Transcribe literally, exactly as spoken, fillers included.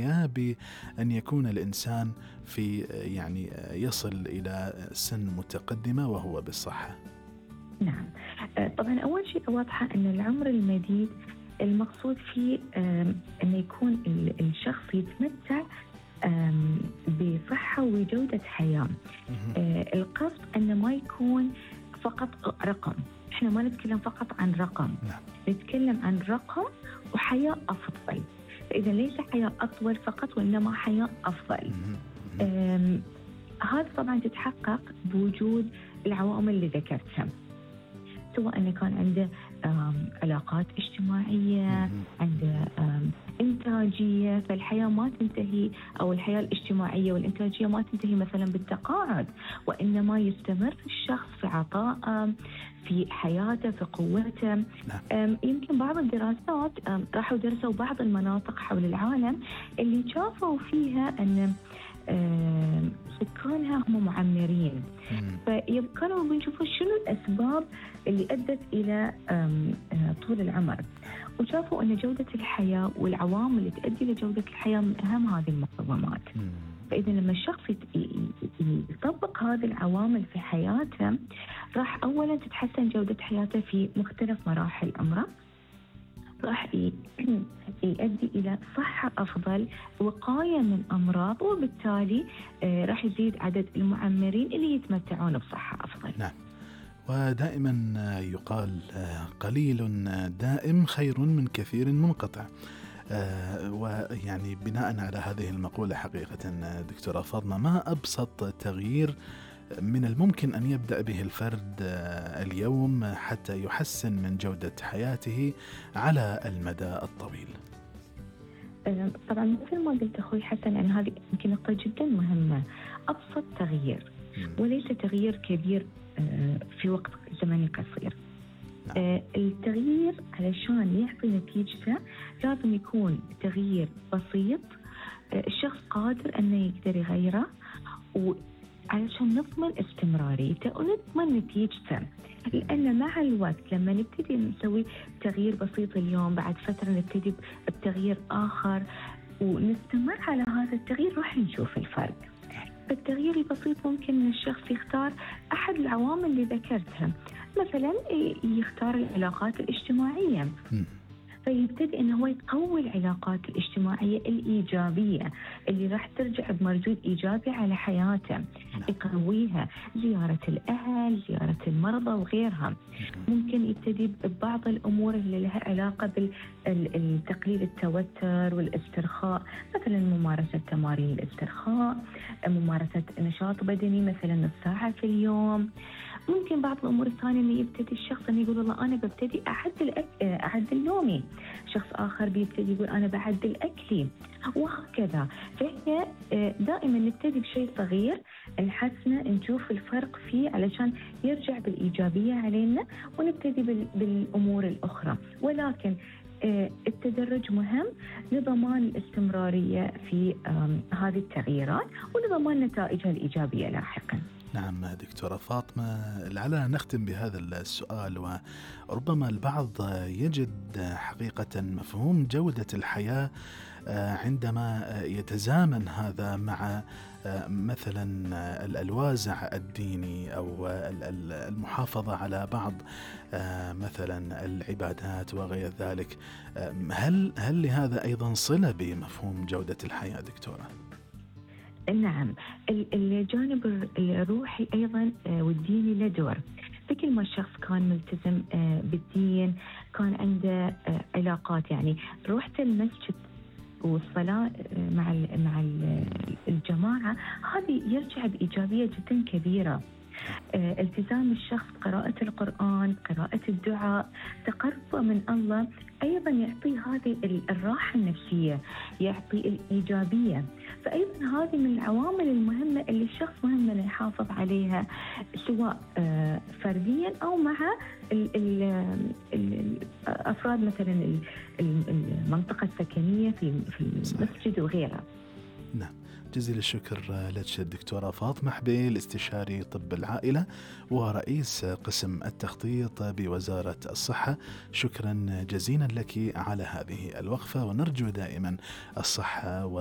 الحياة بأن يكون الإنسان في يعني يصل إلى سن متقدمة وهو بالصحة؟ نعم، طبعا أول شيء واضحة أن العمر المديد المقصود فيه أن يكون الشخص يتمتع بصحة وجودة حياة. القصد أنه ما يكون فقط رقم، إحنا ما نتكلم فقط عن رقم، نتكلم عن رقم وحياة أفضل. فإذا ليس حياة أطول فقط وإنما حياة أفضل. هذا طبعا تتحقق بوجود العوامل اللي ذكرتها، سواء أنه كان عنده علاقات اجتماعية، عنده إنتاجية. فالحياة ما تنتهي، أو الحياة الاجتماعية والإنتاجية ما تنتهي مثلا بالتقاعد، وإنما يستمر الشخص في عطائه، في حياته، في قوته. يمكن بعض الدراسات راحوا درسوا بعض المناطق حول العالم اللي شافوا فيها أن سكانها هم معمرين، فكانوا بيشوفوا شنو الأسباب اللي أدت إلى طول العمر، وشافوا أن جودة الحياة والعوامل اللي تؤدي لجودة الحياة من أهم هذه المقومات. فإذا لما الشخص يطبق هذه العوامل في حياته، راح أولا تتحسن جودة حياته في مختلف مراحل عمره، راح يؤدي إلى صحة أفضل، وقاية من أمراض، وبالتالي راح يزيد عدد المعمرين اللي يتمتعون بصحة أفضل. نعم، ودائما يقال قليل دائم خير من كثير منقطع. ويعني بناء على هذه المقولة حقيقة دكتورة فاطمة، ما أبسط تغيير من الممكن أن يبدأ به الفرد اليوم حتى يحسن من جودة حياته على المدى الطويل؟ طبعا مثل ما قلت أخوي حسن، يعني هذه يمكن نقطة جدا مهمة. أبسط تغيير وليس تغيير كبير في وقت زمني قصير. نعم. التغيير علشان يعطي نتيجته لازم يكون تغيير بسيط، الشخص قادر أنه يقدر يغيره، و علشان نضمن استمراريته ونضمن نتيجته. لأن مع الوقت لما نبتدي نسوي تغيير بسيط اليوم، بعد فترة نبتدي بتغيير آخر ونستمر على هذا التغيير، راح نشوف الفرق. فالتغيير البسيط ممكن أن الشخص يختار أحد العوامل اللي ذكرتها، مثلا يختار العلاقات الاجتماعية، فيبتدي أنه هو يقوي العلاقات الاجتماعية الإيجابية اللي راح ترجع بمردود إيجابي على حياته، يقويها، زيارة الأهل، زيارة المرضى وغيرها. ممكن يبتدي ببعض الأمور اللي لها علاقة بالتقليل التوتر والاسترخاء، مثلا ممارسة تمارين الاسترخاء، ممارسة نشاط بدني مثلا نص ساعة في اليوم. ممكن بعض الأمور الثانية اللي يبتدي الشخص أن يقول والله أنا ببتدي أعدل أك... أعدل نومي، شخص آخر بيبتدي يقول أنا بعدل أكلي، وهكذا. فهي دائما نبتدي بشيء صغير نحسنه، نشوف الفرق فيه علشان يرجع بالإيجابية علينا، ونبتدي بال... بالأمور الأخرى. ولكن التدرج مهم لضمان الاستمرارية في هذه التغييرات ولضمان نتائجها الإيجابية لاحقا. نعم دكتورة فاطمة، لعلنا نختم بهذا السؤال. وربما البعض يجد حقيقة مفهوم جودة الحياة عندما يتزامن هذا مع مثلا الوازع الديني أو المحافظة على بعض مثلا العبادات وغير ذلك. هل هل لهذا أيضا صلة بمفهوم جودة الحياة دكتورة؟ نعم، الجانب الروحي أيضا والديني له دور. بكل ما الشخص كان ملتزم بالدين، كان عنده علاقات، يعني روحة المسجد والصلاة مع مع الجماعة، هذه يرجع بإيجابية جدا كبيرة. التزام الشخص، قراءة القرآن، قراءة الدعاء، تقربه من الله، أيضا يعطي هذه الراحة النفسية، يعطي الإيجابية. فأيضا هذه من العوامل المهمة اللي الشخص مهم أن يحافظ عليها، سواء فرديا أو مع الأفراد مثلا المنطقة السكنية في المسجد وغيرها. نعم، جزيل الشكر لك الدكتورة فاطمة حبيل، استشاري طب العائلة ورئيس قسم التخطيط بوزارة الصحة. شكرا جزيلا لك على هذه الوقفة، ونرجو دائما الصحة و